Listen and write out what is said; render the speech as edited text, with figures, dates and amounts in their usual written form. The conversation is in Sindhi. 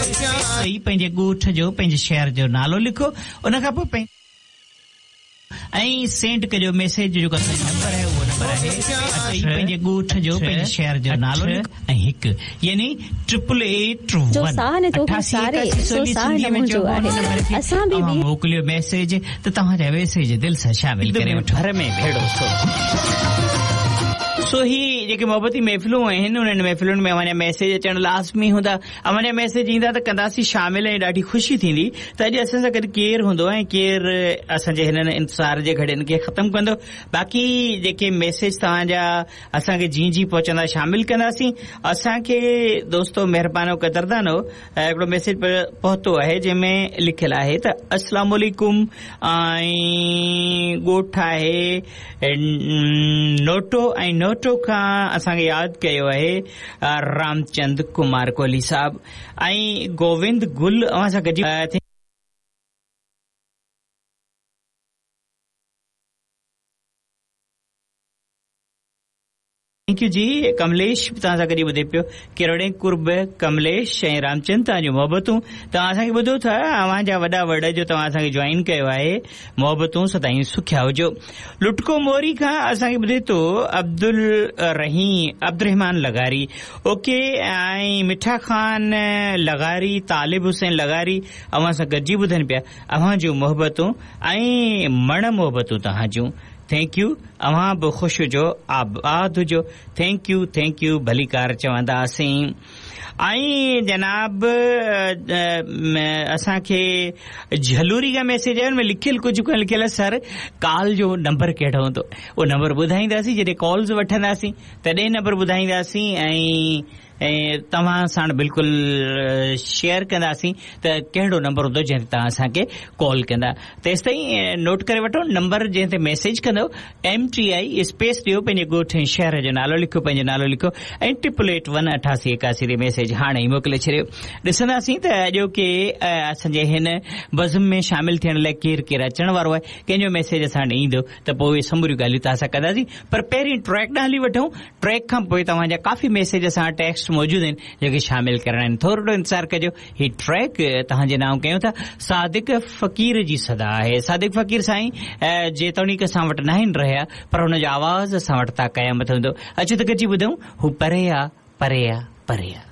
ڏئي پنهنجي ڳوٺ جو پنهنجي شهر جو نالو لکو ان کان پوء پنهنجي ۽ سينڊ ڪجو ميسيج جو جيڪو اسان جو نمبر آهي اهو نمبر آهي ڏئي پنهنجي ڳوٺ جو پنهنجي شهر جو نالو لکو ۽ هڪ يعني ٽرپل ايٽ جو ون ساهه نه توکي اٺاسي ساري ايڪاسي سو سولي ساهه سنڌي نه ۾ منهنجو چئبو ان آهي نمبر کي اسان به اوهان موڪليو ميسيج ته توهان جا ميسيج دل سان شامل ڪري وٺو. ڀر ۾ ڀيڙو سو سو هي جيڪي محبتي محفلون آهن انهن محفلن ۾ اوهان جا ميسيج اچڻ لازمي هوندا اوهان جا ميسيج ايندا ته ڪنداسين شامل ۽ ڏاڍي خوشي ٿيندي ته اڄ اسان سان گڏ ڪير هوندو ۽ ڪير اسان جي هنن انتظار جي گهڙين کي ختم ڪندو باقي جيڪي ميسيج توهان جا اسان کي جيئن جيئن پهچندا شامل ڪنداسين اسان کي دوستو مهربانو قدردانو هڪڙو ميسيج پهتو آهي جنهن ۾ لکيل آهي ته اسلام عليڪم ۽ ڳوٺ آهي نوٽو ۽ نوٽو کان اسان کي ياد ڪيو آهي رامچند ڪمار ڪوهلي صاحب ۽ گووند گل اوهان سان گڏجي Thank you جي ڪمليش به توهان سان گڏي ٻڌي پيو ڪروڙين قرب ڪمليش ۽ رامچند توهان جون محبتون توهان اسان کي ٻڌو ٿا اوهان جا وڏا وڙ جو توهان اسان کي جوائن ڪيو آهي محبتون سدائين سکيا هجو لٽڪو موري کان اسان کي ٻڌي ٿو عبدالرحيم عبدالرحمان لغاري اوڪي ۽ مٺا خان لغاري طالب حسين لغاري اوهان سان گڏجي ٻڌن پيا اوهان جون محبتون ۽ مڻ محبتون توهان جون Thank you اوهان به خوش هجو آباد هجو Thank you Thank you ڀليڪار چونداسين ۽ جناب اسان کي جهلوري کان ميسيج آيو ان ۾ لکيل ڪجهه ڪونه لکيل آهي سر ڪال جو نمبر ڪهڙو هوندو اهو نمبر ٻڌائينداسين جڏهن ڪالز وٺنداسين تڏهن نمبر ٻڌائينداسين ۽ ۽ توهان ساڻ بلڪل شيئر ڪنداسين ته ڪهڙو نمبر هوندو جنهن تي توهان اسان کي ڪال ڪندا تيستائين نوٽ ڪري وٺو نمبر جنهن تي ميسيج ڪندو ايم ٽي I space ڏيو پنهنجي ڳوٺ ۽ شهر جو نالو لکو پنهنجو نالو لکو ۽ 888 88 81 تي ميسيج هاڻي ئي موڪلي ڇڏيو ڏسنداسين ته اڄوڪي اسان جي هن بزم ۾ شامل ٿيڻ لاء ڪير ڪير اچڻ وارو آهي ڪنهن جو ميسيج اسان وٽ ايندو ته پوء اهي سموريون ڳالهيون توهان سان ڪنداسين پر پهرين ٽريڪ ڏانهن هلي وٺون ٽريڪ کان پوء توهان جا ڪافي ميسيج اسان وٽ ٽيڪسٽ موجود آهن جيڪي شامل ڪرڻا آهن ٿورڙو انتظار ڪجو هي ٽريڪ توهان جي نانء ڪيون ٿا صادق فقير جي صدا آهي صادق فقير سائين جيتوڻيڪ اسان وٽ ناهن رهيا پر هن جو آواز اسان وٽ تا قيامت هوندو اچو ته گڏجي ٻڌون هو پري آ پري آ پري آ.